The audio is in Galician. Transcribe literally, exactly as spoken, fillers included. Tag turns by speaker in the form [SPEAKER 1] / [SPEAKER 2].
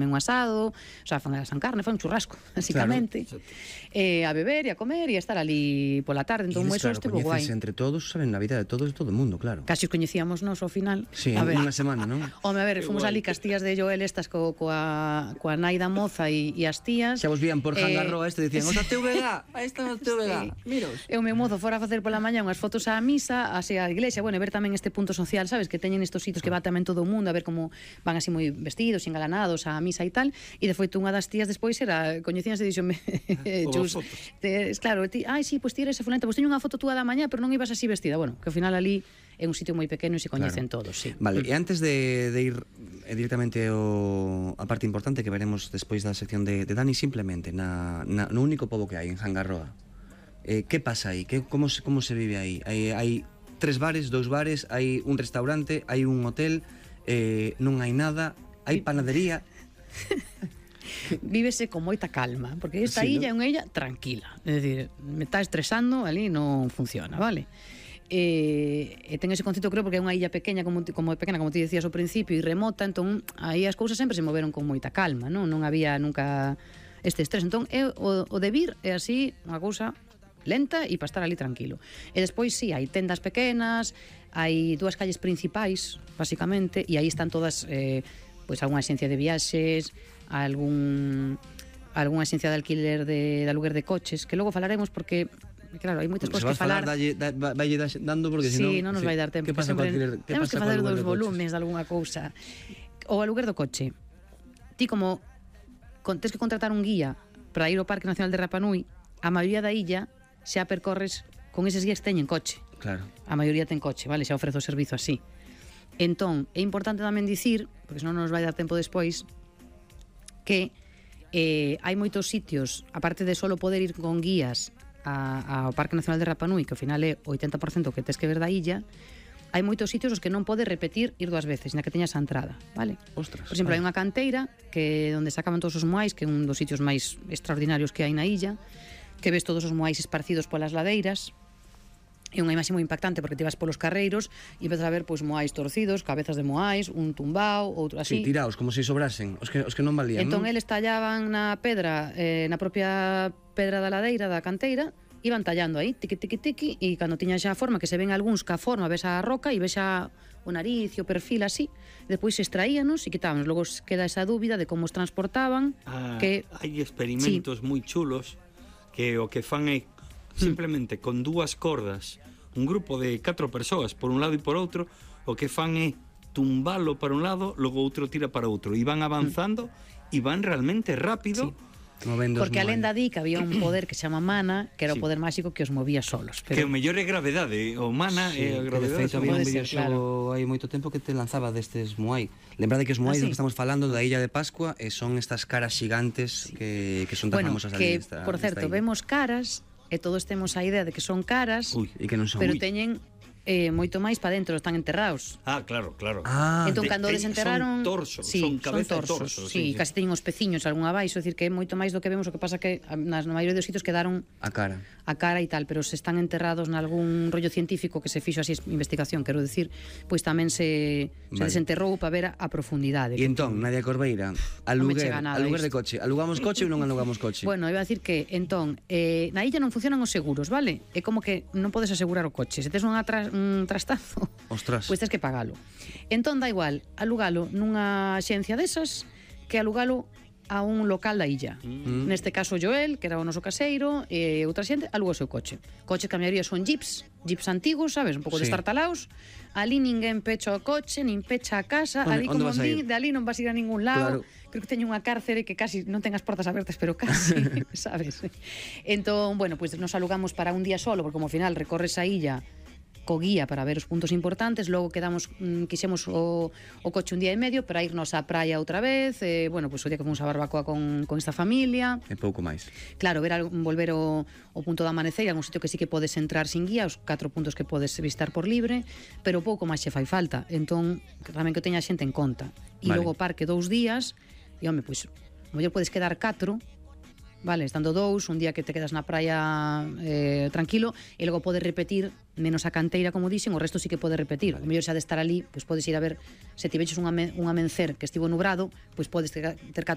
[SPEAKER 1] un asado, o sea, fan a san carne, fan un churrasco, basicamente. Claro, eh, a beber e a comer e a estar ali pola tarde. Entón,
[SPEAKER 2] e
[SPEAKER 1] eso
[SPEAKER 2] claro,
[SPEAKER 1] estivo guai.
[SPEAKER 2] entre todos, saben na vida de todos e todo o mundo, claro.
[SPEAKER 1] Casi os coñecíamos nos ao final.
[SPEAKER 2] Sí, en unha semana, non?
[SPEAKER 1] Home, a ver, fomos ali cas tías de Joel estas co, coa, coa nai da moza e, e as tías.
[SPEAKER 2] Xa vos vían por Jangarroa este, dicían, os da T V G, aí están os T V G,
[SPEAKER 1] sí.
[SPEAKER 2] miros.
[SPEAKER 1] E o meu mozo fora a facer pola mañá unhas fotos á misa, así á iglesia, bueno, e ver tamén este punto social, sabes, que teñen estos sitios que va tamén todo o mundo, a ver como van así moi vestidos, engalanados á misa e tal, e de feito unha das tías despois era, coñecíanse e dixome, Chus, te, claro, ti, ai, sí, pois pues, ti eres fulenta, pois pues, teño unha foto túa da mañá, pero non ibas así vestida, bueno, que ao final ali é un sitio moi pequeno e se coñecen claro. todos, sí.
[SPEAKER 2] Vale, e antes de, de ir eh, directamente ao, a parte importante que veremos despois da sección de, de Dani, simplemente na, na, no único pobo que hai en Jangarroa, eh, que pasa aí? Que, como, se, como se vive aí? Hai, hai tres bares, dous bares, hai un restaurante, hai un hotel, eh, non hai nada, hai panadería.
[SPEAKER 1] Vívese con moita calma, porque esta sí, illa é ¿no? unha illa tranquila, é dicir, me está estresando, ali non funciona, vale? E, e ten ese concepto, creo, porque é unha illa pequena, como, como pequena, como ti decías ao principio, e remota, entón aí as cousas sempre se moveron con moita calma, non? Non había nunca este estrés, entón é, o, o de vir é así unha cousa lenta e para estar ali tranquilo. E despois sí, hai tendas pequenas, hai dúas calles principais, basicamente, e aí están todas eh, pois algunha axencia de viaxes, algún algunha axencia de alquiler de, de aluguer de coches, que logo falaremos porque claro, hai moitas cousas que falar.
[SPEAKER 2] Dalle, da, valle dando porque
[SPEAKER 1] sí,
[SPEAKER 2] senón
[SPEAKER 1] non nos
[SPEAKER 2] sí.
[SPEAKER 1] vai dar tempo.
[SPEAKER 2] Que pasa
[SPEAKER 1] sempre,
[SPEAKER 2] alquiler, que
[SPEAKER 1] temos
[SPEAKER 2] pasa
[SPEAKER 1] que facer dous
[SPEAKER 2] de
[SPEAKER 1] volumes de algunha cousa. O aluguer do coche. Ti como con, tens que contratar un guía para ir ao Parque Nacional de Rapa Nui, a maioría da illa xa percorres con eses guías que teñen coche.
[SPEAKER 2] Claro.
[SPEAKER 1] A maioría ten coche, vale, xa ofrece o servizo así. Entón, é importante tamén dicir, porque senón non nos vai dar tempo despois, que eh, hai moitos sitios, aparte de solo poder ir con guías a, ao Parque Nacional de Rapa Nui, que ao final é o oitenta por cento que tes que ver da illa, hai moitos sitios os que non podes repetir ir dúas veces, na que teñas a entrada, vale?
[SPEAKER 2] Ostras.
[SPEAKER 1] Por exemplo, hai unha canteira que onde sacaban todos os moais, que é un dos sitios máis extraordinarios que hai na illa, que ves todos os moais esparcidos polas ladeiras. É unha imaxe moi impactante porque te vas polos carreiros e ves a ver pois moais torcidos, cabezas de moais, un tumbao, outro así.
[SPEAKER 2] Sí, tiraos, como se sobrasen, os que, os que non valían,
[SPEAKER 1] entón,
[SPEAKER 2] non?
[SPEAKER 1] eles tallaban na pedra, eh, na propia pedra da ladeira da canteira, iban tallando aí, tiqui, tiqui, tiqui, e cando tiña xa a forma, que se ven algúns que a forma, ves a roca e ves a o nariz e o perfil así, depois se extraíanos e quitábanos, logo queda esa dúbida de como os transportaban.
[SPEAKER 3] Ah,
[SPEAKER 1] que
[SPEAKER 3] hai experimentos sí. moi chulos que o que fan é simplemente con dúas cordas, un grupo de catro persoas por un lado e por outro, o que fan é tumbalo para un lado, logo outro tira para outro, e van avanzando e van realmente rápido.
[SPEAKER 1] Sí. Porque a lenda di que había un poder que se chama mana, que era sí. o poder máxico que os movía solos, pero...
[SPEAKER 3] que o mellor é gravedade, o mana
[SPEAKER 2] sí,
[SPEAKER 3] é a gravedade.
[SPEAKER 2] De feito, había un
[SPEAKER 1] claro.
[SPEAKER 2] videoxogo hai moito tempo que te lanzaba destes moai. Lembrade que os moai ah, sí. do que estamos falando da Illa de Pascua e son estas caras xigantes sí. que, que son tan
[SPEAKER 1] bueno,
[SPEAKER 2] famosas
[SPEAKER 1] que,
[SPEAKER 2] esta,
[SPEAKER 1] por certo, vemos caras e todos temos a idea de que son caras.
[SPEAKER 2] Uy, e que non son.
[SPEAKER 1] Pero
[SPEAKER 2] Uy.
[SPEAKER 1] teñen eh, moito máis para dentro, están enterrados.
[SPEAKER 3] Ah, claro, claro.
[SPEAKER 1] Ah, entón, cando
[SPEAKER 3] de,
[SPEAKER 1] desenterraron...
[SPEAKER 3] Son torsos,
[SPEAKER 1] sí,
[SPEAKER 3] son cabeza
[SPEAKER 1] son torsos,
[SPEAKER 3] torso.
[SPEAKER 1] Sí, sí, casi teñen os peciños algún abaixo, é dicir, que é moito máis do que vemos, o que pasa que nas, na maioría dos sitios quedaron
[SPEAKER 2] a cara
[SPEAKER 1] a cara e tal, pero se están enterrados nalgún rollo científico que se fixo así investigación, quero decir, pois tamén se, vale. se desenterrou para ver a, a profundidade.
[SPEAKER 2] E entón, Nadia Corbeira, aluguer, aluguer de coche, alugamos coche ou non alugamos coche?
[SPEAKER 1] Bueno, iba a decir que, entón, eh, na illa non funcionan os seguros, vale? É como que non podes asegurar o coche, se tes un, atras, un trastazo,
[SPEAKER 2] ostras,
[SPEAKER 1] pois tens que pagalo. Entón, da igual, alugalo nunha axencia desas que alugalo a un local da illa. Mm. Neste caso Joel, que era o noso caseiro, e outra xente alugou o seu coche. Coches que a maioría son jeeps, jeeps antigos, sabes, un pouco sí. destartalaos. Ali ninguén pecha o coche, nin pecha a casa,
[SPEAKER 2] onde,
[SPEAKER 1] ali
[SPEAKER 2] onde
[SPEAKER 1] como vi, de ali non vas a ir a ningún lado. Claro. Creo que teño unha cárcere que casi non ten as portas abertas, pero casi, sabes? Entón, bueno, pois pues nos alugamos para un día solo, porque como ao final recorres a illa co guía para ver os puntos importantes, logo quedamos, mm, quixemos o, o coche un día e medio para irnos á praia outra vez, e, bueno, pois pues, o día que fomos a barbacoa con, con esta familia.
[SPEAKER 2] E pouco máis.
[SPEAKER 1] Claro, ver algo, volver o, o punto da amanecer, algún sitio que sí que podes entrar sin guía, os catro puntos que podes visitar por libre, pero pouco máis xe fai falta, entón, tamén que teña xente en conta. E vale. Logo o parque dous días, e, home, pois, pues, mellor podes quedar catro, vale, estando dous, un día que te quedas na praia eh, tranquilo, e logo podes repetir menos a canteira, como dixen, o resto sí que podes repetir. O mellor xa de estar ali, pois podes ir a ver, se tiveches un, ame, un amencer que estivo nubrado, pois podes ter, ter